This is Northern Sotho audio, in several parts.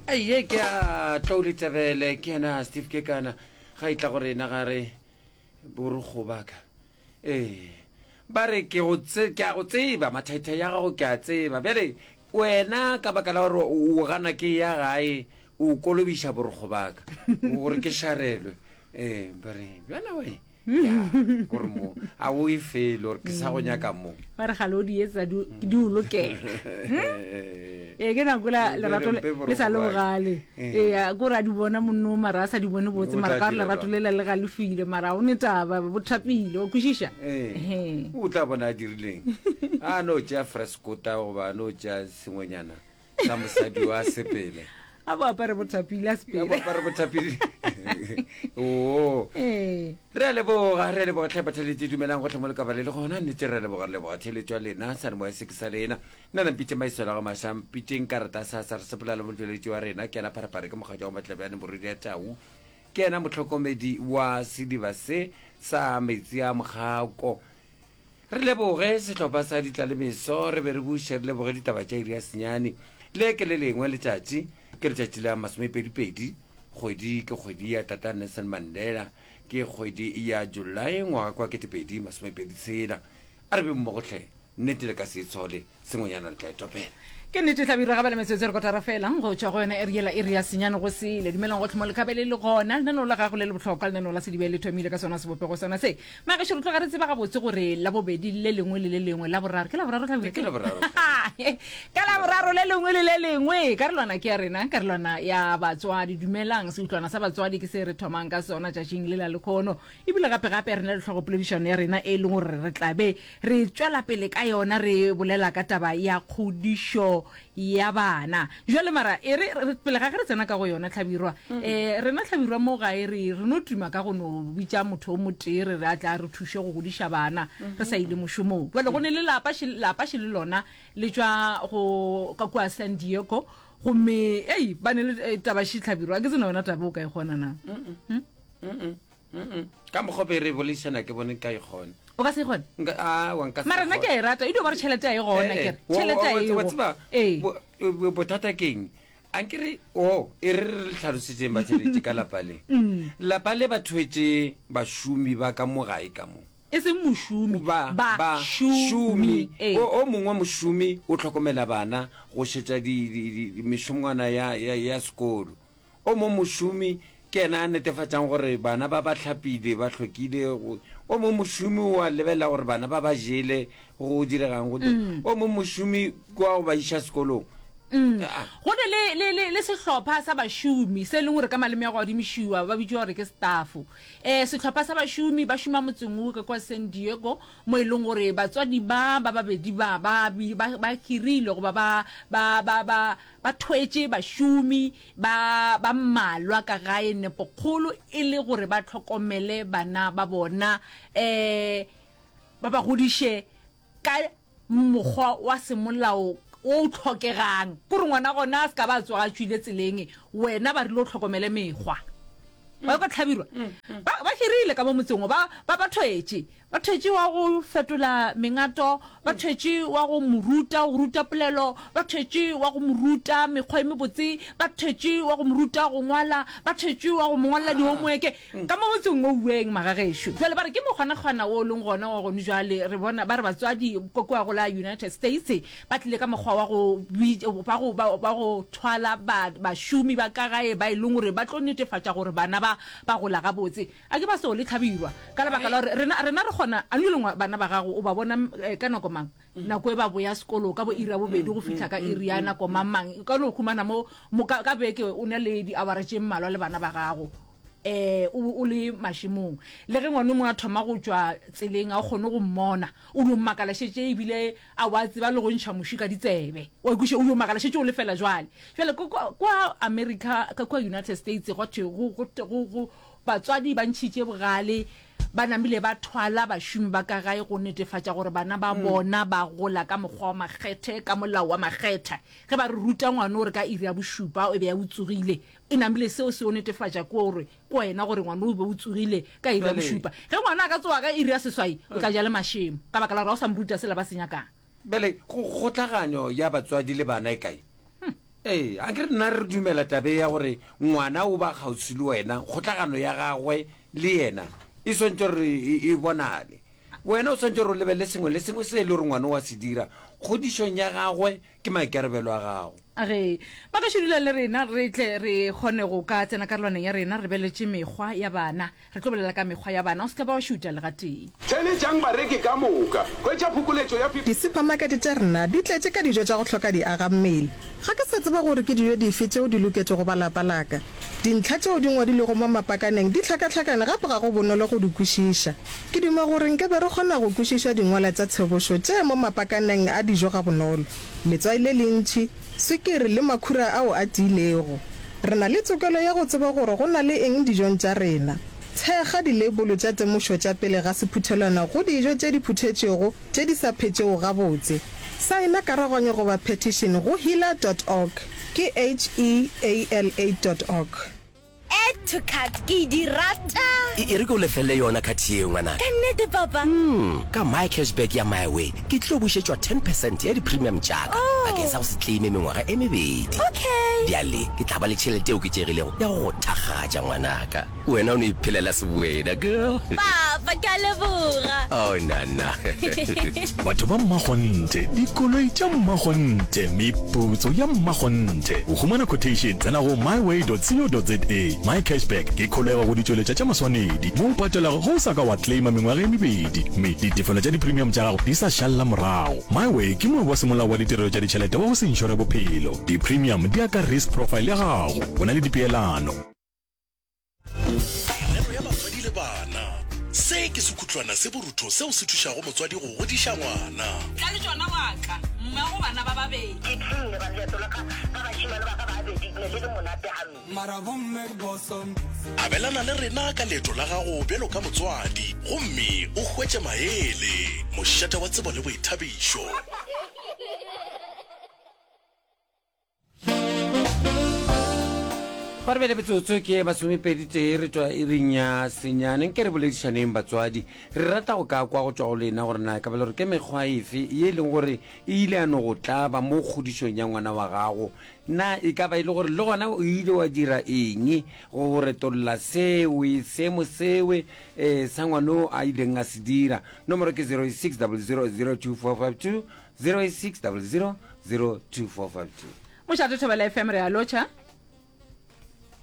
Aiye ke a Tlou Letebele ke yena Steve Kekana ga e tla go rena ga re borokgo ba ka ee ba re ke go tse ke a go tseba mathaithai ya gago ke a tseba bjale wena ka baka la gore o gana ke ya gae o kolobiša borokgo ba ka gore ke šarelwe ee ba re bjana we ya gore mo a o e fele gore ke sa go nyaka mo ba re gale o di etsa di di o lokela ee ke nako la lerato le le sa le bogale ee ko re a di bona monno mara a sa di bone botse O mara tla ka gore dira lerato jwang? lela le galefile mara o ne taba bo thapile o kwešiša Ee, Ehe. o tla bona a dirileng a no tšea freskota goba a no tšea sengwenyana sa mosadi wa sepele a bo apare bothapile a sepele a bo apare bothapile oo ee re a leboga re a leboga tlhe batheletše dumelang gotlhe mo lekaba le le gona nnete re a leboga re leboga theletšo ya lena sa re moya se ke sa lena nna na mpitše maiswela ga maša mpitšeng karata sa sa re sepela le motšweletši wa rena ke yena pharapare ke mogatša wa matlebjane moriri ya tau ke yena motlhokomedi wa sediba se sa metsi a mokgako Re leboge sehlopha sa Ditlalemeso, re be re buše re leboge ditaba tša iri ya senyane. Le ke le lengwe letšatši, ke letšatši la masomepedipedi, kgwedi ke kgwedi ya Tata Nelson Mandela, ke kgwedi ya Julae ngwaga kwa 2026. A re be mmogo hle, nnete le ka se itshole, sengwenyana le tla e topela. Ke nnete Hlabirwa ga bale metsotso e re kotara fela go tšwa go yona iri yela iri ya senyane go sele. Dumelang gohle mo lekhabele le gona. Lenaneo la gago le le bohlokwa lenaneo la Sedibe le thomile ka sona sebopego sona se. Magešo re tloga re tseba gabotse gore Labobedi le lengwe le le lengwe Laboraro ke Laboraro Hlabirwa? Ke Laboraro. Ka Laboraro le lengwe le le lengwe karolwana ke ya rena karolwana ya batswadi. Dumelang seutlwana sa batswadi ke se re thomang ka sona tšatšing le la lekhono. Ebile gape gape re na le hlogopoledišano ya rena e leng gore re tla be re tšwela pele ka yona re bolela ka taba ya kgodišo ya bana. Jwale mara e re, re pele ga ge re tsena ka go yona Hlabirwa, um rena Hlabirwa mo gae re re no tuma ka go no bitša motho o motee re re a tla re thuše go godiša bana re sa ile mošomong. Jwale go ne le lapa še, lapa še le lona le tšwa go ka kua San Diego gomme ei ba ne le eh, taba še Hlabirwa, ke tsena yona taba o ka e kgona na? Mm-mm. Ka mokgwa be re boledišana ke bone nka e kgona. O ka se e kgone? Nka, awa, nka se Mara nna ke a e rata, e dio ba re tšhelete a e gona, Eh, ke re wa- tšhelete wa- a wa- e wa go. tseba, Ee. bo- bo- bothata ke eng? A nke re, o, e re re le hlalosetšeng batheeletši ka lapa le. Mm. Lapa le ba thwetše bašomi ba ka mo gae ka mo. E seng mošomi, Ba, ba ba, šomi. šomi. Ee. O, o mongwe mošomi o hlokomela bana go šetša di, di, di, di, mešongwana ya, ya, ya sekolo. O mong mošomi ke yena a netefatšang gore bana ba ba hlapile, ba hlwekile. O mong mošomi o a lebelela gore bana ba ba jele, go diregang. Go O mong mošomi ke wa go ba iša sekolong. Go ne le, le, le, le sehlopha sa bašomi se e leng gore ka maleme a go adimišiwa ba bitšwa gore ke staff. Um sehlopha sa bašomi ba šoma motseng wo ka kwa San Diego mo e leng gore batswadi ba ba babedi ba ba, ba, ba hirile goba ba, ba, ba, ba, Ba thwetše bašomi ba ba mmalwa ka gae nepokgolo e le gore ba hlokomele bana ba bona, um ba ba godiše ka mokgwa wa semolao wo o hlokegang. Ke gore ngwana gona a se ka ba a tsoga a tšwile tseleng, wena ba rile o hlokomele mekgwa. Wa kwa Hlabirwa? Ba, ba hirile ka mo motseng wo, ba, ba, ba thwetše. Ba thwetše wa go fetola mengato, ba thwetše wa go mo ruta go ruta polelo, ba thwetše wa go mo ruta mekgwa e mebotse, ba thwetše wa go mo ruta go ngwala, ba thwetše wa go mo ngwalela dihomoeke. Ka mo motseng wo uweng, magagešo. Bjale ba re ke mokgwanakgwana wo o leng gona wa gone jwale. Re bona ba re batswadi ko kua go la United States ba tlile ka mokgwa wa go ba go ba ba go thwala ba bašomi ba ka gae ba e leng gore ba tlo netefatša gore bana ba ba gola gabotse. A ke ba so le hlabirwa ka lebaka la gore rena, rena re kgona, a no lengwa bana ba gago o ba bona eh, ka nako mang? Nako e ba boya sekolo ka bo iri ya bobedi go fihla ka iri ya nako mang mang. O ka no humana mo, mo ka, ka beke o na le diawara tše mmalwa le bana ba gago eh o, o le mašemong. Le ge ngwana o mongwe a thoma go tšwa tseleng a o kgone go mmona, o dio makala šetše ebile a wa tseba le go ntšha muši ka ditsebe. Wa kwešiša, o dio makala šetše o lefela jwale. Jwale ko, kwa, kwa America, ka kua United States gwa thwe go, go, go, go, Batswadi ba ntšhitše bogale, ba namile ba thwala bašomi ba ka gae go netefatša gore bana ba bona ba gola ka mokgwa wa makgethe, ka molao wa makgetha. Ge ba re ruta ngwana gore ka iri ya bošupa o be a o tsogile, e namile seo se yo netefatša ke gore ke wena gore ngwana o be o tsogile ka iri ya bošupa. Ge ngwana a ka tsoga ka iri ya seswai, o tla ja le mašemo ka baka la gore ga o sa mo ruta sela ba se nyakang. Bjale, kgotlaganyo ya batswadi le bana e kae? Ee, a ke re nna re dumela tabe ya gore ngwana o ba kgauswi le wena, kgotlagano ya gagwe le yena e swantše gore e, e bonale. Wena o swantše gore o lebelele sengwe le sengwe se e le gore ngwana o a se dira kgodišong ya gagwe, ke maikarabelo a gago. Ge ba ka šudula le rena, re tle re kgone go ka tsena karolwaneng ya rena, re beletše mekgwa ya bana. Re tlo bolela ka mekgwa ya bana. O se ka ba wa šuta le gatee. Theeletšang bareki ka moka. Hwetša phokoletšo ya 50. Disuphamakete tša rena di tletše ka dijo tša go hloka diagammele. Ga ke sa tseba gore ke dijo dife tšeo di loketšego ba lapa la ka. Dintlha tšeo di ngwadilwego mo mapakaneng di hlakahlakane gape ga go bonolo go di kwešiša. Ke duma gore nke be re kgona go kwešiša dingwalwa tša tshebošo tše mo mapakaneng a dijo gabonolo, letswai le lentši, swikiri le makhura ao a tiilego. Re na le tokelo ya go tseba gore go na le eng dijong tša rena. Thekga dileibolo tša temošo tša pele ga sephuthelwana go dijo tše di phuthetšwego tše di sa phetšego gabotse. Saena karaganyo goba petition go heala dot org, ke H-E-A-L-A dot org. Add to cart ke di rata. E, e re ke o lefelle yona card yeo, ngwanaka. Ka nnete, Papa? Mm, ka My Cashback ya MiWay, ke tlo bušetšwa ten percent ya di-premium tša ka Oh. bakeng sa go se claime mengwaga e mebedi. Okay. Bjale ke tla ba le tšhelete e oketšegilego ya go go thakgatša, ngwanaka. Wena o no iphelela sewena, girl. Papa, ke a leboga. Oh, nana. Batho ba mmakgonthe, dikoloi tša mmakgonthe, meputso ya mmakgonthe. Go humana quotation, tsena go myway.co.za. MyCashback ke kholego go ditšweletša tša maswanedi mo o patelago ge o sa ka wa claima mengwaga e mebedi mme ditefelo tša di-premium tša gago di sa šalela morago. MyWay ke moabi wa semolao wa ditirelo tša ditšhelete wa go se inšore bophelo. Di-premium di ya ka risk profile ya gago. Go na le dipeelano. Merero ya batswadi le bana. Se ke sekhutlwana se borutho seo se thušago motswadi go godiša ngwana. Tla le tšona wa ka, mmago bana ba babedi. Ke tlile ba leeto la ka ka bašemane ba ka babedi ne le le monate gampe. Mara bomme ke boso. Abelana le rena ka leeto la gago bjalo ka motswadi gomme o hwetše maele. Mošate wa tsebo le boithabišo. Gore bjale metsotso ke masomepedi tee re tšwa iring ya senyane nke re boledišaneng batswadi re rata go ka kwa go tšwa go lena gore na e ka ba le gore ke mekgwa efe ye e leng gore e ile ya no go tlaba mo kgodišong ya ngwana wa gago na e ka ba e le gore le gona o ile wa dira eng go retolla sewe seemo sewe um sa ngwano a ileng a se dira nomoro ke 06 00 02452 086 00 02452. Mošate Thobela FM re a lotšha.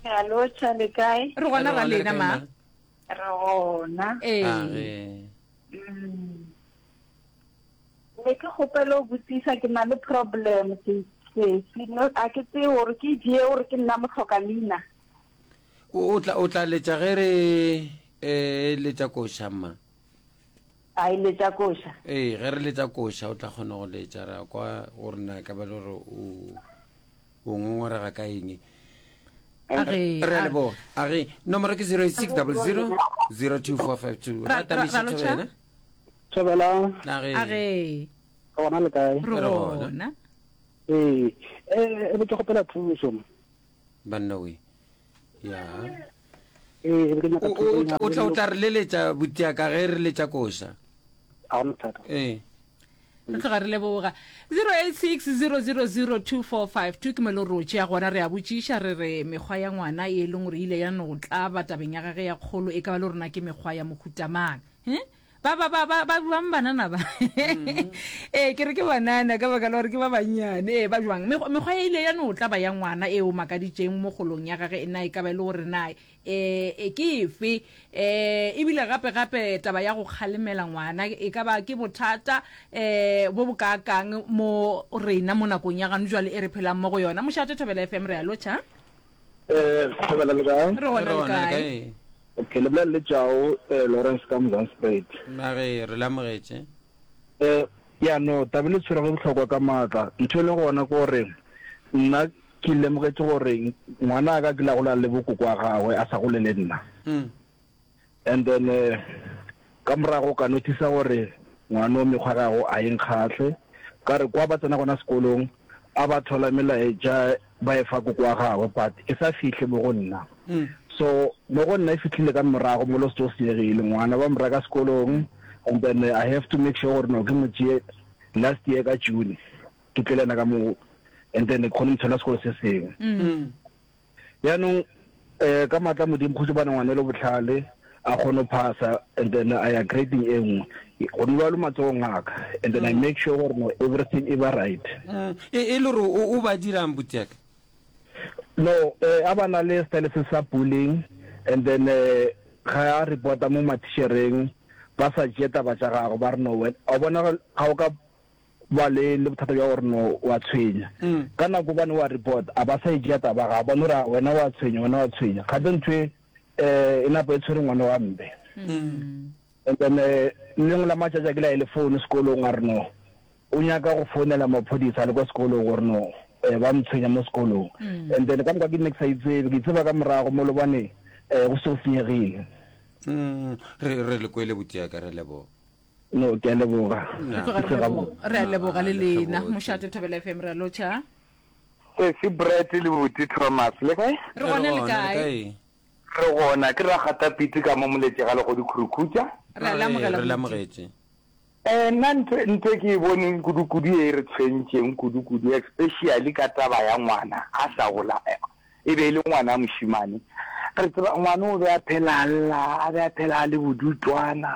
Re a lotšha le kae? Re gona ra lena ma. Re gona. Ee. Mm. Ne ke kgopela go botsisa ke na le problem se se no a ke tsebe gore ke je gore ke nna mohloka leina. O tla o tla letša ge re eh letša koša mma. A e letša koša? Ee, ge re letša koša o tla kgona go letša ra kwa gore na ka ba le gore o o ngongorega ka eng. A Re a leboga. A re nomoro ke 086 00 02452. Ra- Ra tamiša ra- ra lotšha? thobela. Thobela. A re. A re. Gona le kae? Re gona. Ee, eh, e be ke kgopela thuso. Banna we. Ya. Ee, ke nyaka O- o- o tla o tla re leletša butiaka ge re letša koša. A gona bothata. Ee. Re tloga re leboga. 0860002452 ke mo e le gore o tšea gona re a botšiša re re mekgwa ya ngwana e leng gore ile ya no tlaba tabeng ya gage ya kgolo e ka ba le rona ke mekgwa ya mohuta mang. He? Ba ba ba ba ba bjang banana ba? Ee, ke re ke banana ka baka la gore ke ba bannyane. Ee, ba bjang? Mekgwa mekgwa e ile ya no tlaba ya ngwana e o makaditšeng mo kgolong ya gage na e ka ba e le gore na e ke efe? E ebile gape gape taba ya go kgalemela ngwana e ka ba ke bothata e bo bo kaakang mo rena mo nakong ya gano jwale e re phelang mo go yona. Mošate Thobela FM re a lotšha. Eh, Thobela le kae? Re gona le kae? Okay, le bolela le Jao eh, Lawrence ka Mzanspruit. A re re le amogetše. Eh, ya no, taba le tshwerego e bohlokwa ka maatla. Ntho e leng gona ke gore nna ke lemogetše gore ngwana ka ke la gola le bokoko wa gagwe a sa gole le nna. Mm. And then eh, ka morago ka notice gore ngwana o mekgwa gago a e nkgahle. Ka re kwa ba tsena gona sekolong a ba thola melaetša ba e fa koko wa gagwe but e sa fihle mo go nna. So mo go nna e fihlile ka morago mo lo se seegile ngwana ba mo reka sekolong and then I have to make sure gore no ke mo tšee last year ka June ke tle le yena ka mo. And then ke kgone go thola sekolo se sengwe. Jaanong um ka maatla a Modimo kgoši bana ngwana e le bohlale a kgone go phasa and then a ya grading e nngwe. Gone bjalo matsogong a ka and then I make sure gore no everything e ba right. E, e le gore o, o ba dirang butiaka? No, eh, a ba na le style se sa bullying and then eh, ga a reporta mo mathišereng ba sa tšee taba tša gago ba re no wena wa bona ga o ka ba le le bothata bja gore no wa tshwenya ka nako bane wa report a ba sa e tšea taba ga ba no re wena wa tshwenya wena wa tshwenya gape ntho e eh e napo e tshwere ngwana wa mbe and then eh, lengwe la matšatši a ke la e le phone sekolong a re no o nyaka go founela maphodisa a le kwa sekolong gore no eh, ba mtshwenya mo sekolong and then ka moka ke nne ke sa itsebe ke itseba ka morago mo lobane um go se go senyegile Mm, re re le kwele botiaka re leboga no ke a leboga Re tloga re leboga. Re a leboga le lena mošate Thobela FM re a lotšha. Sesi Brett le Buti Thomas le kae? Re gona le kae? Re gona ke Ragatapitse ka mo Moletše ga Legodi Khurukhutša. Re a le amogela Re le amogetše. Eh, nna ntho ntho e ke e boneng kudu-kudu e re tshwentšeng kudu-kudu especially ka taba ya ngwana a sa gola e be e le ngwana a mošemane. Re tseba ngwana o be a phela a lla, a be a phela a le bodutwana.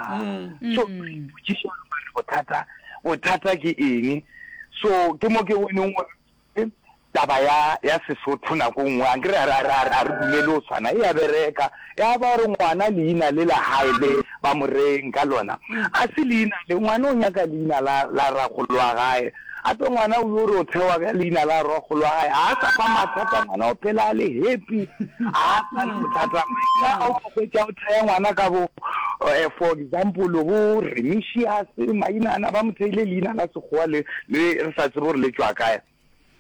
So re ipotšiša gore mare bothata bothata ke eng. So ke mo ke boneng gore Taba ya, ya Sesotho nako nngwe, ankere a re, a re, a re, a re dumele go tshwana, e a bereka. Ya ba gore ngwana leina le la hae le ba mo reeng ka lona, a se leina le, ngwana o nyaka leina la, la rakgolo wa gae. Gape ngwana o yo re o thewa ka leina la rakgolo wa gae, ga a sa fa mathata, ngwana o phela a le happy, ga a sa le bothata. Maina a o tlo hwetša o thea ngwana ka bo, eh, for example, bo Remisius, maina ana ba mo theile leina la Sekgowa le, le re sa tsebe gore le tšwa kae.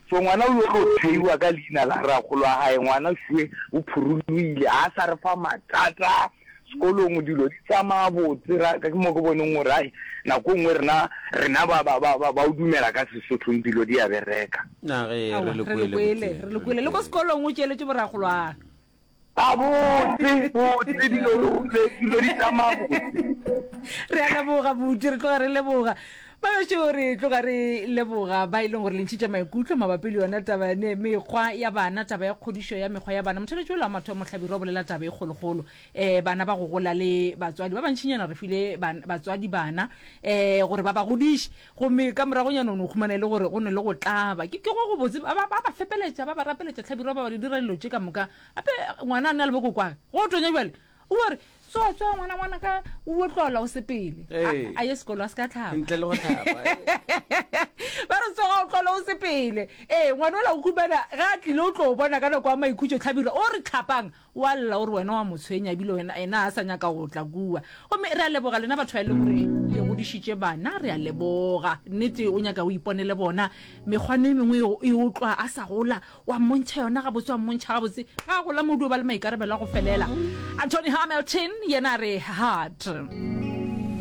So ngwana o yo tlo theiwa ka leina la rakgolo wa gae, ngwana šue o phurulogile, ga a sa re fa mathata sekolong, dilo di tsamaya botse, ra, ke mo ke boneng gore ai nako nngwe rena, rena ba, ba, ba, ba, ba o dumela ka Sesothong dilo di a bereka. Na ge Aowa, re le re kwele, le kwele, Botse, re le kwele. Le ko sekolong o tšeletše borakgolwagwe. A botse, botse, dilo, dilo di tsamaya botse. Re a leboga, Buti, re tloga re leboga. Bagešo, re tloga re leboga ba e leng gore le ntšhitše maikutlo mabapi le yona taba ne mekgwa ya bana, taba ya kgodišo ya mekgwa ya bana. Motheletši ola wa mathomo Hlabirwa o bolela taba e kgolokgolo. Um bana ba go gola le batswadi ba bantšinyana re file batswadi bana um gore ba ba godiše. Gomme ka moragonyana o no humana e le gore go ne le go tlaba. Ke, ke go gobotse, ba, ba, ba ba fepeletša, ba ba rapeletša, Hlabirwa, ba ba di dira dilo tše ka moka. Gape ngwana a na le bokokwage, go tonya bjale, o a re, Tsoa, tsoa, ngwana, ngwana ka, o o tlola o sepele. A, Ee. a ye sekolo, a se ka hlapa. Ntle le go hlapa. Ba re, Tsoga, o tlola o sepele. Ee, ngwana ola o humana, ge a tlile o tlo bona ka nako ya maikhutšo, Hlabirwa, o re, Hlapang, O a lla o re wena wa mo tshwenya ebile wena ena a sa nyaka go tla kua. Gomme re a leboga lena batho ba e leng gore le godišitše bana, re a leboga. Nnete o nyaka o iponele bona. Mekgwana e mengwe e o tlwa a sa gola, wa mmontšha yona gabotse, wa mmontšha gabotse. Ga a gola modu o ba le maikarabelo a go felela. Anthony Hamilton yena a re, Hard.